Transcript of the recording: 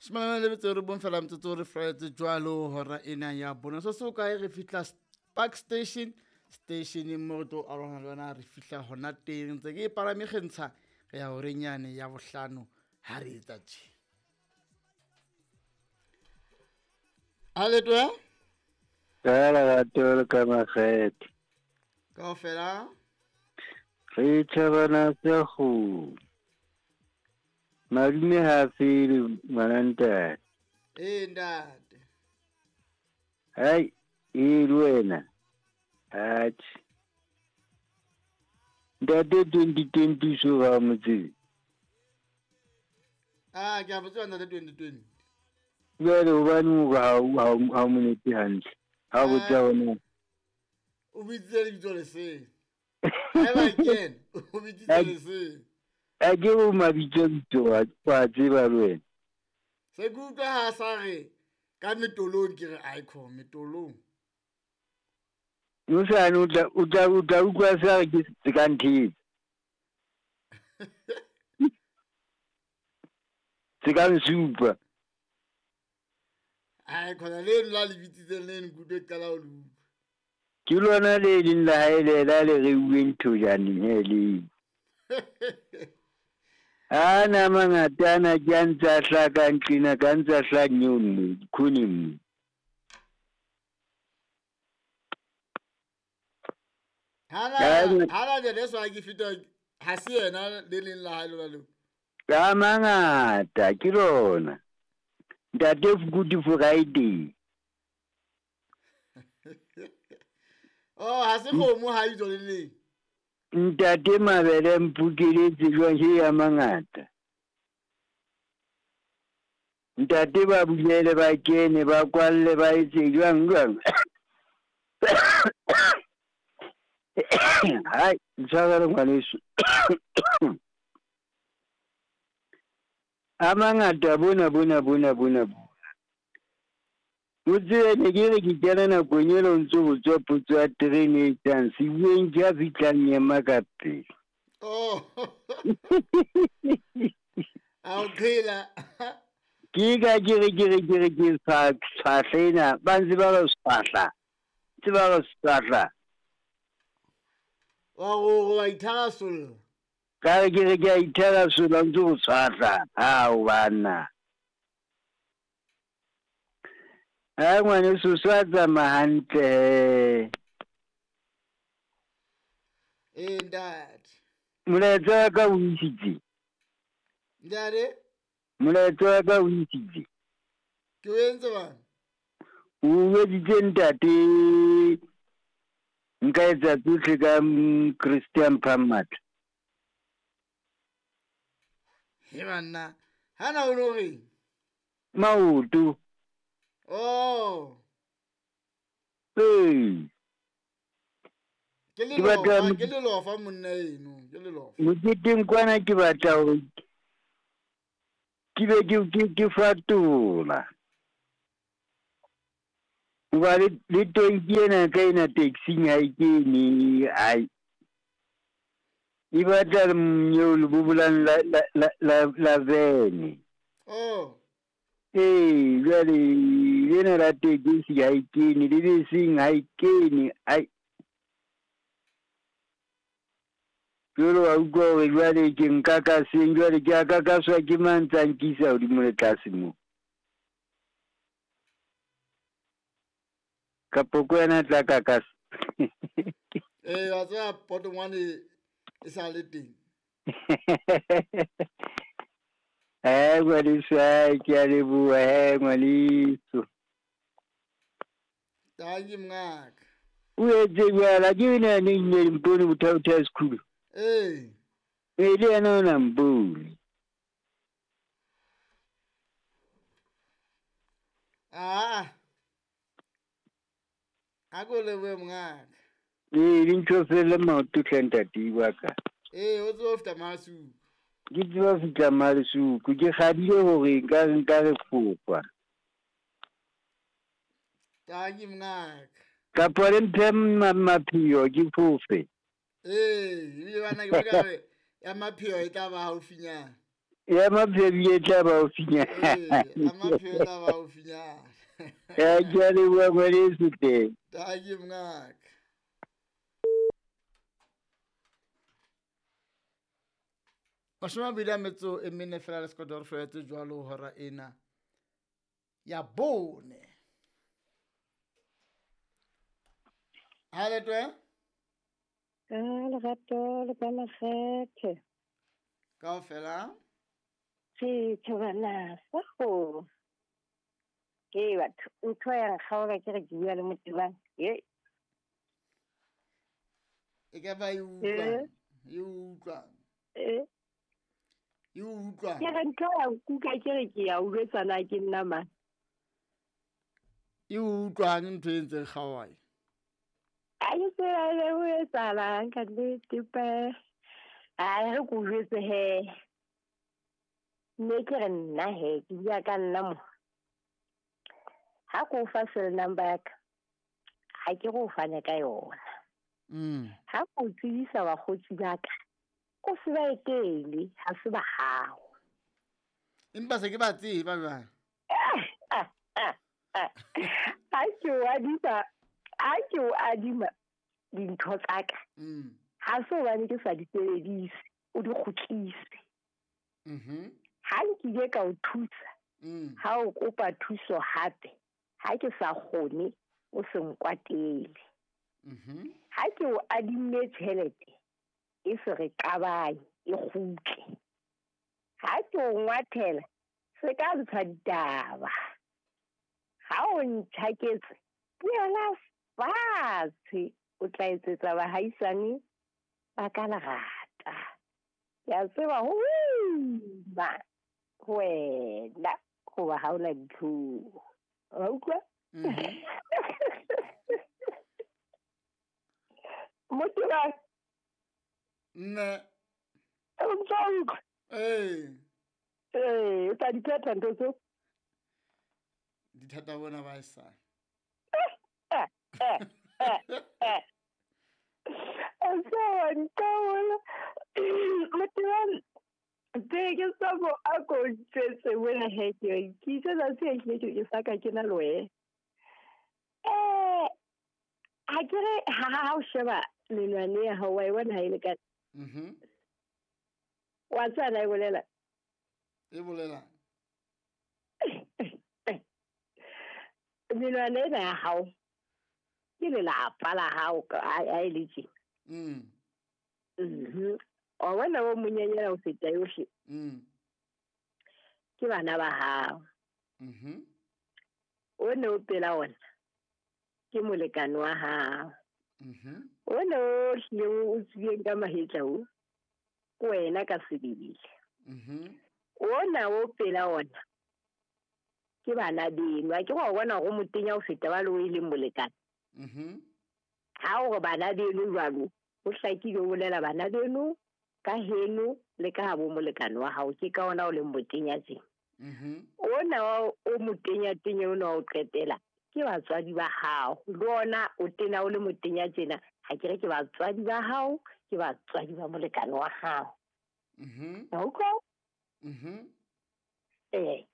Shomana le metso e robong fela metsotso re flaetse jwalo hora ena ya bone. So se o kae re fihla Park Station, stationeng mo re tlo arohana le yona, re fihla hona teng. Ntse ke e palame kgentsha re ya horeng yane ya bohlano ha re etsa tje. A leto ya? Ka lerato le ka makgethe. Kaofela. Re tjhabana sa kgomo. Madume ha fele ngwana ntate. Ee ntate. Hai, ee le wena. Atjhe. Ntate 2020 so ga mo tsebe. Ah, ke a mo tseba ntate 2020. Jwale hobaneng o re ha o mo nepe hantle? Ha o botsa hona. O bitsitse lebitso le seng. Haeba ke yena, o bitsitse le seng. A ke o mabitso bitso wa tseba le wena. Se ke utlwa ha sa re ka metolong ke re aikho metolong. Mosane o tla utlwa sa re ke se ka nthetsa. Se ka nsupa. Ai khona le la le bitsitseng le nkutlwe qala ho le utlwa. Ke lona le leng la hae le la le reuweng thojaneng he le. Ana mangata ana ke a ntse a hlaka ntlena ka ntse a hlaha nyeong mo dikhoneng mo. Hana jele so ke fita ha se yena le leng la hae lona leo. Ka mangata ke lona. Ntate Good Friday. Oh, ha se kgomo ha itso le leng. Ntate Mabele mpukeletse jwang he ya mangata. Ntate ba bulele ba kene ba kwalle ba etse jwang jwang. Hai, ntshwarele ngwaneso. A mangata bona bona bona bona. O tsebe ne ke re ke kena nakong ena o ntso botswa potso ya terene e tlang sebueng ke a fihlang ema ka pele. Oh. A o qhela. Ke ka ke re ke tshwahla ena ba ntse ba re tshwahla. Ntse ba re tshwahla. Wa go wa itharasolla. Ka re ke re ke a itharasolla ntse o tshwahla. Hao banna. Ha ngwaneso sa tsamaya hantle. Ee ntate. Molaetsa wa ka o isitse. Ntate? Molaetsa wa ka o isitse. Ke o entse bang? O editse ntate. Nka etsa tsohle ka Christian Phammatla. He banna, hana o lo reng? Maoto. Oh. Ee. Ke le lofa monna eno, ke le lofa. Moketeng kwana ke batla hore ke be ke fatola. Hoba le tonki ena ka ena taxing ha e kene, ai. E batla nyeo le bobolang la vene. Oh. Ee, jwale lena la tekesi ha e kene, le beseng ha e kene, ai. Jwale wa utlwa hore jwale ke nka ka seng, jwale ke a kakaswa ke mang tsa nkisa hodimo le tlase moo. Kapo ko yena tla kakasa. Ee, wa tseba potongwane e sa le teng. Ngwaneso, ke a leboha ngwaneso. Tanki mngaka. O etse jwala ke ena ne nne mpone mothaotha sekhulu. Ee. E le yena o na mpone. Ah. A ko lebohe mongaka. Ee, dintho fele maoto hle ntate wa ka. Ee, o tseba ho fihla Masuku. Ke tseba ho fihla Masuku, ke kgadile hore nka re fofa. Tanki mongaka. Kapa le mphe mapheo ke fofe. Ee, ebile bana ke bona re ya mapheo e tla ba haufinyana. Ya Mapheo e tla ba haufinyana. Ee, a Mapheo e tla ba haufinyana. Ya, ke a leboha ngwaneso hle. Dankie mongaka. Mashome a mabedi a metso e mene fela le sekoto re felletse jwalo hora ena ya bone. Ha letwe? Ka lerato le ka makgethe. Kaofela? Re thabana sa go. Ke batho ntho ya nkgaola ke re ke bua le Motebang. Ye. E ka ba e utlwa. E utlwa. E utlwa. Ke re ntho ya nkuka ke re ke ya utlwetsana ke nna mang. E utlwang ntho e ntseng kgaoha. A ke tsebe le ho etsahalang ka nnete pe. A re ko jwetse he. Mme ke re nna he, ke bua ka nna mo. Ha ko fa cell number ya ka, ha ke go fane ka yona. Ha ko tsebisa bakgotsi ba ka, o se ba etele, ha se ba hao. Empa se ke ba tseba jwang? Ha ke o adima, ha ke o adima dintho tsa ka. Ha se hobane ke sa di sebedise, o di kgutlise. Ha nkile ka o thusa, ha o kopa thuso hape, ha ke sa kgone, o se nkwatele. Ha ke o adimme tjhelete, e se re qabanye, e kgutle. Ha ke o ngwathela, se ka ntsha ditaba. Ha o ntjhaketse, buela fatshe, o tla etsetsa bahaisane ba ka lerata. Ke a tseba ho ima wena hoba ha o na ditlhong. Wa utlwa? Motebang. Nne. O ntso utlwa? Ee. Ee, o tla di phetha ntho tseo? Dithata bona ba e sa. Motebang, tse ke sa mo a ko ntjwetse wena he ke ke itse tsatsi e hlile ke sa ka ke na le wena. Ha ke re ha o sheba menwana ya hao wa e bona ha e lekane. Wa tseba na e bolela? E bolela. Menwana ena ya hao ke lelapa la hao ha e le tje. Wa bona o monyenyana ho feta yohle. Ke bana ba hao. O ne o pela ona ke molekane wa hao. O ne o hlile o tswileng ka mahetla o, ke wena ka sebele. Ona o pela ona ke bana beno. Ha ke wa bona hore o motenya ho feta ba le o e leng molekane. Ha o re bana beno jwalo, ho hlakile o bolela bana beno ka heno le ka habo molekane wa hao, ke ka ona o leng motenya tjena. Ona o motenya tenya ona o qetela ke batswadi ba hao. Le ona o tena o le motenya tjena, ha ke re ke batswadi ba hao, ke batswadi ba molekane wa hao. Wa utlwa? Ee.